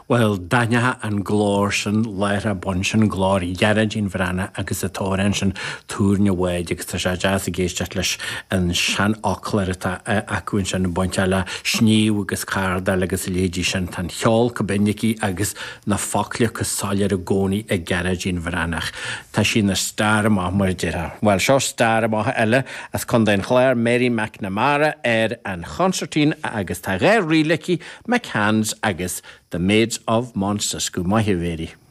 Bhuel, d'aithneofá an glór sin láithreach bonn, sin glór Ghearóidín Bhreathnach agus an t-amhrán sin Túirne Bháid agus tá sé deas ag éisteacht leis an seanfhoclóir atá acu ansin bainteach le sníomh agus cardáil agus a leithéidí sin. Tá an cheol chomh binn aici agus na focla chomh soiléir i gcónaí ag Gearóidín Bhreathnach. Tá sí ina star amach mar a déarfá. Bhuel, seo star amach eile as Contae an Chláir, Mary McNamara ar an chonsairtín agus tá dhá ríl aici, McCann's agus The Maids of Mount Cisco. Maith thú, a Mhary.